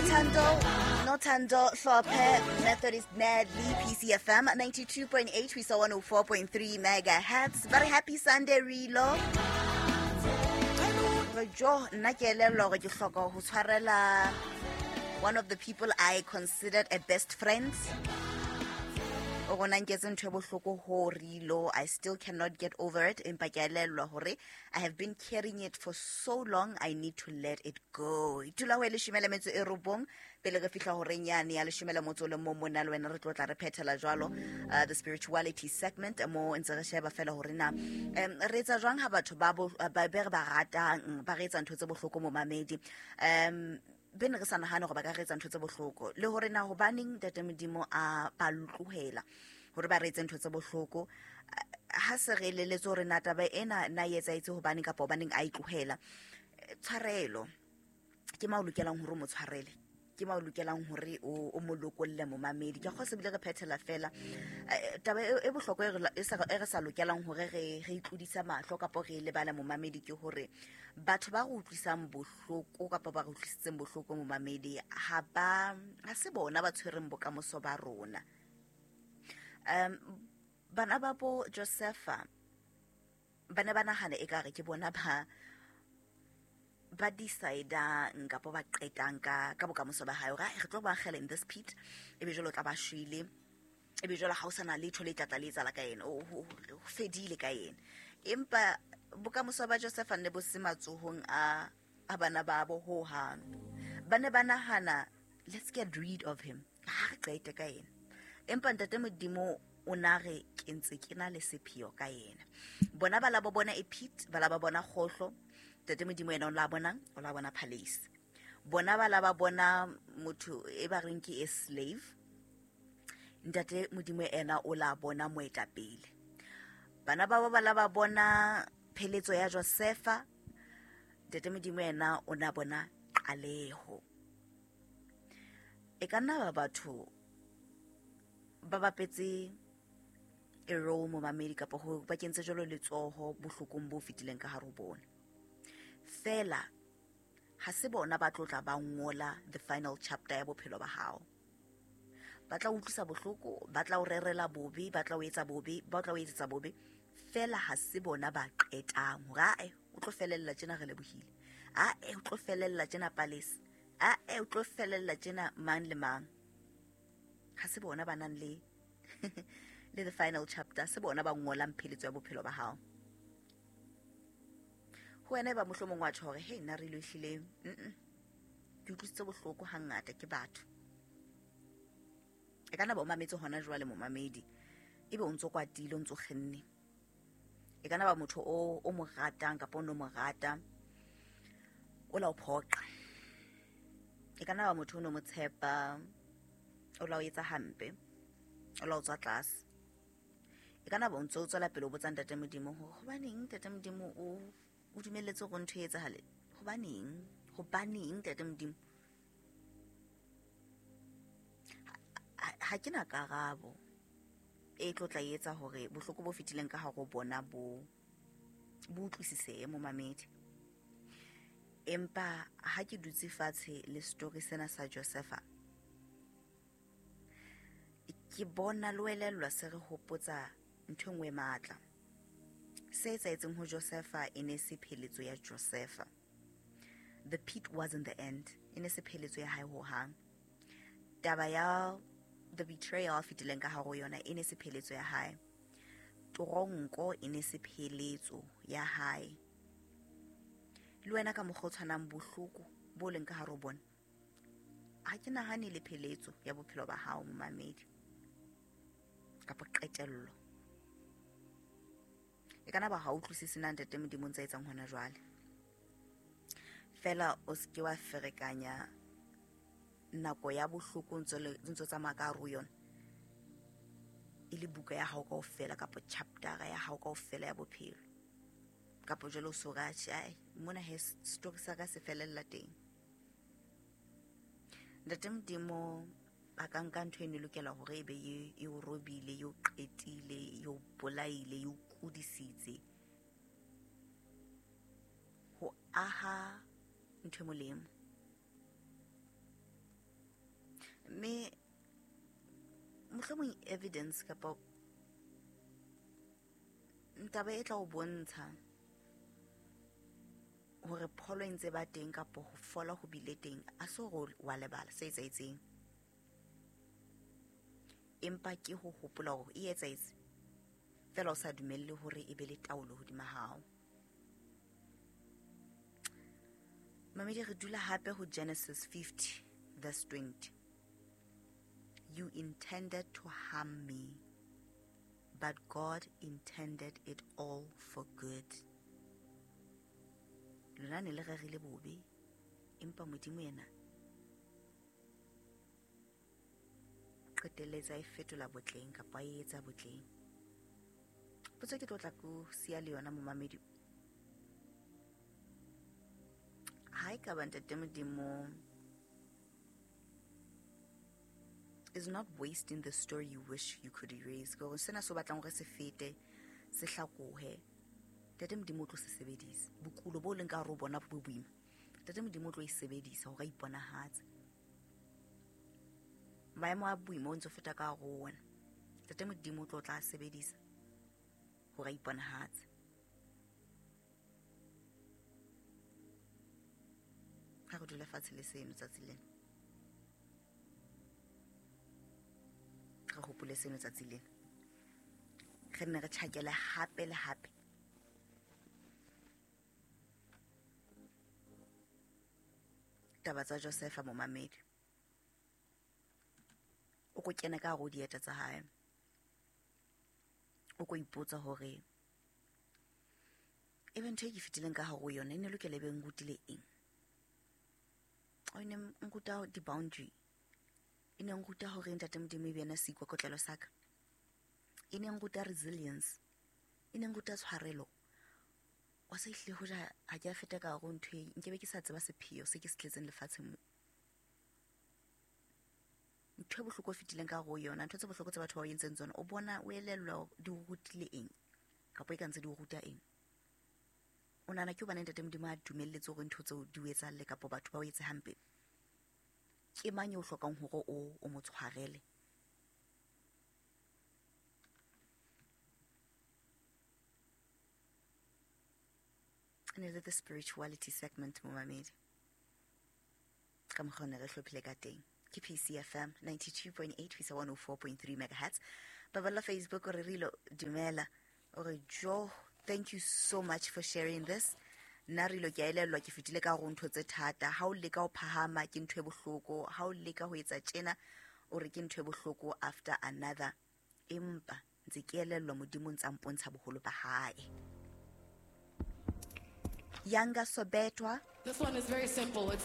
Nothando Hlophe, Methodist Madly, PCFM 92.8, we saw 104.3 megahertz. Very happy Sunday, Rilo. Re jo nna ke elellwa hore ke hloka ho tshwarela one of the people I considered a best friend. O rona nketse ntho e bohloko ho Rilo. I still cannot get over it. Empa ke a elellwa hore I have been carrying it for so long. I need to let it go. Itula ho e 19 pele re fihla horeng yane ya 11 mona le wena re tlo tla re phethela jwalo the spirituality segment mo ntse re sheba fela hore na re etsa jwang ha batho ba be re ba ratang ba re etsa ntho tse bohloko momamedi, be ne re sa nahane hore ba ka re etsa ntho tse bohloko, le hore na hobaneng Ntate Modimo a ba tlohela hore ba re etse ntho tse bohloko. Ha se re eleletse hore na taba ena na e etsahetse hobaneng kapa hobaneng a e tlohela. Tshwarelo ke ma o lokelang hore o mo tshwarele, ke ma o lokelang hore o mo lokolle momamedi. Ke kgotsa ebile re phethela fela taba e bohlokwa e re sa lokelang hore re itlodisa mahlo kapa re lebala momamedi, ke hore batho ba re utlwisang bohloko kapa ba re utlwisitseng bohloko momamedi ha se bona ba tshwereng bokamoso ba rona. Bana ba bo Josefa ba ne ba nahana ekare ke bona ba decide-ang kapa ba qetang ka bokamoso ba hae, hore re tlo ba akgela in this pit, ebe jwale o tla ba shwele, ebe jwale ha o sana letho le tlatla le etsahala ka yena, o fedile ka yena. Empa bokamoso ba Josefa ne bo se matsohong a bana babo ho hang. Ba ne ba nahana let's get rid of him, ha re qete ka yena. Empa Ntate Modimo o na re ke ntse ke na le sepheo ka yena. Bona ba la bo bona e pit, ba la ba bona kgohlo, Ntate Modimo yena o la bona, o la bona palace. Bona ba la ba bona motho e ba reng ke a slave, Ntate Modimo yena o la bona moetapele. Bana ba ba la ba bona pheletso ya Josefa, Ntate Modimo yena o na bona qaleho. E ka nna ba batho ba bapetse a role momamedi kapa ho ba kentse jwalo letsoho bohlokong bo fetileng ka hare ho bona. Fela ha se bona ba tlotla ba ngola the final chapter ya bophelo ba hao. Ba tla utlwisa bohloko, ba tla o rerela bobe, ba tla o etsa bobe, ba tla o etsetsa bobe. Fela ha se bona ba qetang hore ae o tlo felella tjena re lebohile, ae o tlo felella tjena palace, ae o tlo felella tjena mang le mang. Ha se bona ba nang le le the final chapter, se bona ba ngolang pheletso ya bophelo ba hao. Ho wena e ba mohlomong wa tjho hore hey nna re lo ehlile ke utlwisitse bohloko hangata ke batho. E ka nna ba o mametse hona jwale momamedi, ebe o ntso kwatile, o ntso kgenne. E ka nna ba motho o mo ratang kapa o no mo rata, o la o phoqa. E ka nna ba motho o no mo tshepa, o la o etsa hampe, o la o tswa tlase. E ka nna ba o ntso o tswela pele o botsa Ntate Modimo hore hobaneng Ntate Modimo o dumelletse hore ntho e etsahale, hobaneng Ntate Modimo. Ha ke na karabo e tlo tla etsa hore bohloko bo fetileng ka hare ho bona bo utlwisisehe momamedi. Empa ha ke dutse fatshe le story sena sa Josefa, ke bona le elellwa se re hopotsa ntho e nngwe e matla. Se etsahetseng ho Josefa e ne se pheletso ya Josefa. The pit wasn't the end, e ne se pheletso ya hae ho hang. Taba ya the betrayal a fetileng ka hare ho yona e ne se pheletso ya hae. Toronko e ne se pheletso ya hae. Le wena ka mokgwa o tshwanang bohloko bo leng ka hare ho bona, ha ke nahane le pheletso ya bophelo ba hao momamedi kapa qetello. E kana ba ha utlwisise na Ntate Modimo ntse etsang hona jwale. Fela o se ke wa ferekanya nako ya bohloko ntso tsamaya ka hare ho yona e le buka ya hao kaofela kapa chapter ya hao kaofela ya bophelo. Kapa jwale o so re atjhe, ai mona he story sa ka se felella teng. Ntate Modimo a ka nka ntho e ne lokela hore ebe e o robile, e o qetile, e o bolaile, e o kudisitse ho aha ntho e molemo. Mohlomong evidence kapa taba e tla o bontsha hore pholo e ntse ba teng kapa ho fola ho bile teng, a se hore wa lebala se etsahetseng, empa ke ho hopola hore e etsahetse fela o sa dumelle hore e be le taolo hodima hao. Mamedi, re dula hape ho Genesis 50 verse 20. You intended to harm me, but God intended it all for good. Lona ne le rerile bobe, empa Modimo yena qetelletse a e fetola botleng kapa a e etsa botleng. Potso ke tlo tla ko siya le yona momamedi. Ha e ka ba Ntate Modimo is not wasting the story you wish you could erase. Ke hore sena se o batlang hore se fete, se hlakohe, Ntate Modimo o tlo se sebedisa. Bokulo bo leng ka hare ho bona bo boima, Ntate Modimo o tlo e sebedisa hore a iponahatse. Maemo a boima o ntse o feta ka hare ho ona, Ntate Modimo o tlo tla sebedisa hore a iponahatse. Ha re dule fatshe le seno tsatsi lena, re hopole seno tsatsi lena, re nne re tjhakele hape le hape. Taba tsa Josefa momamedi, o ko kene ka hare ho dieta tsa hae, o ko ipotsa hore ebe ntho e ke fetileng ka hare ho yona e ne lokela ebe nrutile eng. O ne nruta di-boundary, e ne nruta hore Ntate Modimo e be yena seikokotlelo sa ka, e ne nruta resilience, e ne nruta tshwarelo. Wa sa ehlile hoja ha ke a feta ka hare ho ntho e, nkebe ke sa tseba sepheo se ke se tletseng lefatsheng mo. Ntho e bohloko o fetileng ka hare ho yona, ntho tse bohloko tse batho ba o entseng tsona, o bona o elellwa hore di o rutile eng kapa e ka ntse di o ruta eng. O nahana ke hobane Ntate Modimo a dumelletse hore ntho tseo di o etsahalle kapa batho ba o etse hampe? Ke mang eo hlokang hore o mo tshwarele? Ne le the spirituality segment momamedi, ka mokgwa o ne re hlophile ka teng. Ke PCFM 92.8 ho isa 104.3 megahertz. Baballa Facebook o re Rilo dumela, o re Jo, thank you so much for sharing this. Nna Rilo ke a elellwa ke fetile ka hare ho ntho tse thata. Ha o leka ho phahama ke ntho e bohloko, ha o leka ho etsa tjena o re ke ntho e bohloko after another, empa ntse ke elellwa Modimo ntse a mpontsha boholo ba hae. Yanga Sobetwa. This one is very simple. It's